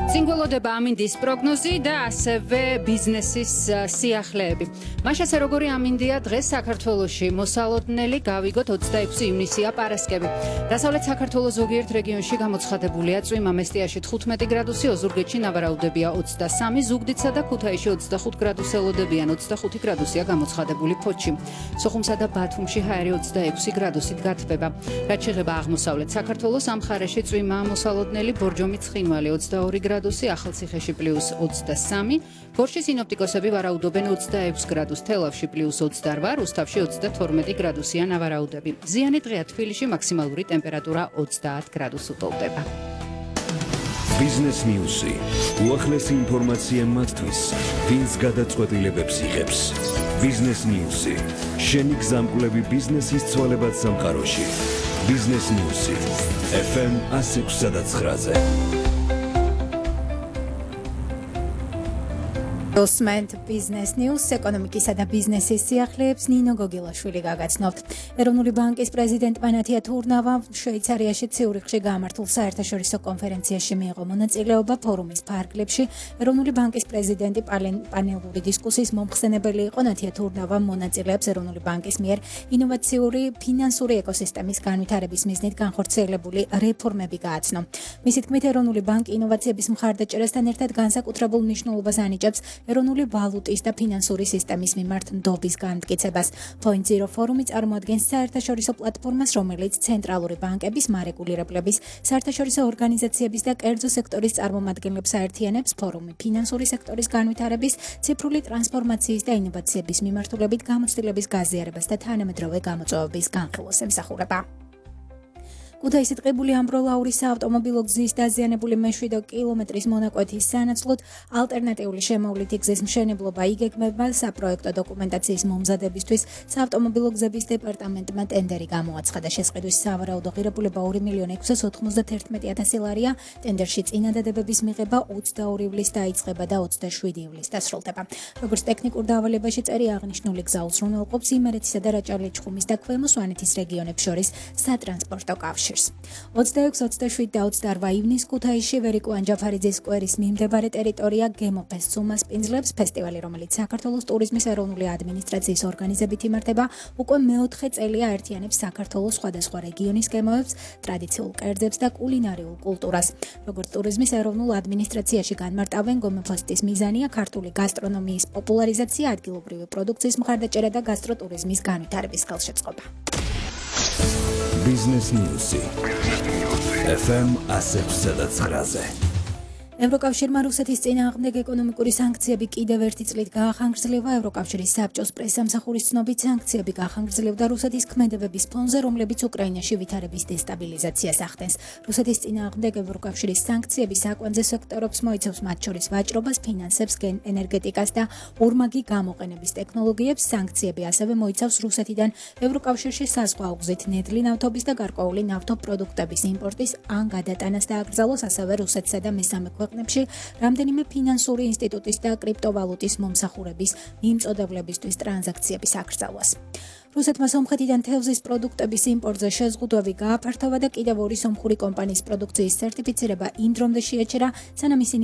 Სინგველოდება ამინდის პროგნოზი და ასევე ბიზნესის სიახლეები. მაშასე როგორი ამინდია დღეს საქართველოში მოსალოდნელი გავიგოთ 26 ივნისია პარასკევი. დასავლეთ საქართველოს ზოგიერთ რეგიონში გამოცხადებულია წვიმა, მესტიაში 15 გრადუსი, ოზურგეთში ნავარაუდებია 23, ზუგდიდსა და ქუთაისში 25 გრადუსი ელოდებიან, 25 გრადუსია გამოცხადებული ფოთში. სოხუმსა და ბათუმში ჰაერი 26 გრადუსით გათბება. რაც შეეხება აღმოსავლეთ საქართველოს, ამ მხარეში წვიმაა მოსალოდნელი, ბორჯომი ცხინვალი 22 გრადუსი, ახალციხეში +23, გორში სინოპტიკოსები ვარაუდობენ 26 გრადუს, თელავში +28, რუსთავში 32 გრადუსია ნავარაუდები. ზიანი დღეა თბილისში, მაქსიმალური ტემპერატურა 30 გრადუსს უტოლდება. ბიზნეს ნიუსი. უახლესი ინფორმაცია მათთვის, ვინც გადაწყვეტილებებს იღებს. ბიზნეს ნიუსი. შენი გზამკვლევი ბიზნესის ცვალებად სამყაროში. ბიზნეს ნიუსი. FM 106.9-ზე. Osment Business News ეკონომიკისა და ბიზნესის სიახლეებს ნინო გოგილაშვილი გაგაცნობთ. ეროვნული ბანკის პრეზიდენტმა ნათია თურნავამ შვეიცარიაში ციურიხში გამართულ საერთაშორისო კონფერენციაში მიიღო მონაწილეობა ფორუმის ფარგლებში. ეროვნული ბანკის პრეზიდენტი პანელური დისკუსიის მომხსენებელი იყო. ნათია თურნავამ მონაწილეებს ეროვნული ბანკის მიერ ინოვაციური ფინანსური ეკოსისტემის განვითარების მიზნით განხორციელებული რეფორმები გააცნო. მისი თქმით, ეროვნული ბანკი ინოვაციების მხარდაჭერასთან ერთად განსაკუთრებულ მნიშვნელობას ანიჭებს ეროვნული ვალუტის და ფინანსური სისტემის მიმართ ნდობის განმტკიცებას. Point Zero ფორუმი წარმოადგენს საერთაშორისო პლატფორმას, რომელიც ცენტრალური ბანკების, მარეგულირებლების, საერთაშორისო ორგანიზაციების და კერძო სექტორის წარმომადგენლებს აერთიანებს. ფორუმი ფინანსური სექტორის განვითარების, ციფრული ტრანსფორმაციის და ინოვაციების მიმართულებით გამოცდილების გაზიარებას და თანამედროვე გამოწვევების განხილვას ემსახურება. ქუთაისის ტყიბული ამბროლაურის საავტომობილო გზის დაზიანებული მე-7 კილომეტრის მონაკვეთის სანაცვლოდ ალტერნატიული შემოვლითი გზის მშენებლობა იგეგმება. საპროექტო დოკუმენტაციის მომზადებისთვის საავტომობილო გზების დეპარტამენტმა ტენდერი გამოაცხადა. შესყიდვის სავარაუდო ღირებულება 2.611.000 ლარია. ტენდერში წინადადებების მიღება 22 ივლისს დაიწყება და 27 ივლისს დასრულდება. როგორც ტექნიკურ დავალებაში წერია, აღნიშნული გზა უზრუნველყოფს იმერეთისა და რაჭა-ლეჩხუმის და ქვემო სვანეთის რეგიონებს შორის სატრანსპორტო კავშირს. 26, 27 და 28 ივნისს ქუთაისში ვერიკო ანჯაფარიძის სკვერის მიმდებარე ტერიტორია გემოფესტს უმასპინძლებს. ფესტივალი, რომელიც საქართველოს ტურიზმის ეროვნული ადმინისტრაციის ორგანიზებით იმართება, უკვე მეოთხე წელია აერთიანებს საქართველოს სხვადასხვა რეგიონის გემოებს, ტრადიციულ კერძებს და კულინარიულ კულტურას. როგორც ტურიზმის ეროვნულ ადმინისტრაციაში განმარტავენ, გემოფესტის მიზანია ქართული გასტრონომიის პოპულარიზაცია, ადგილობრივი პროდუქციის მხარდაჭერა და გასტროტურიზმის განვითარების ხელშეწყობა. Business News. FM 106.9-ზე. ევროკავშირმა რუსეთის წინააღმდეგ ეკონომიკური სანქციები კიდევ ერთი წლით გაახანგრძლива. ევროკავშირის საბჭოს პრესამსახურის ცნობით, სანქციები გაახანგრძლივდა რუსეთის ქმედებების ფონზე, რომლებიც უკრაინაში ვითარების დესტაბილიზაციას ახდენს. რუსეთის წინააღმდეგ ევროკავშირის სანქციები საკვანძე სექტორებს მოიცავს, მათ შორის ვაჭრობას, ფინანსებს, ენერგეტიკას და ორმაგი გამოყენების ტექნოლოგიებს. სანქციები ასევე მოიცავს რუსეთიდან ევროკავშირში საზღვაო გზით ნედლი ნავთობის და გარკვეული ნავთობპროდუქტების იმპორტის ან გადატანას დააკრძალოს, ასევე რუსეთსა და მესამე ქვეყნებში რამდენიმე ფინანსური ინსტიტუტის და კრიპტოვალუტის მომსახურების მიმწოდებლებისთვის ტრანზაქციების აკრძალვას. რუსეთმა სომხეთიდან თევზის პროდუქტების იმპორტზე შეზღუდვები გააფართოვა და კიდევ ორი სომხური კომპანიის პროდუქციის სერტიფიცირება იმ დრომდე შეაჩერა, სანამ ისინი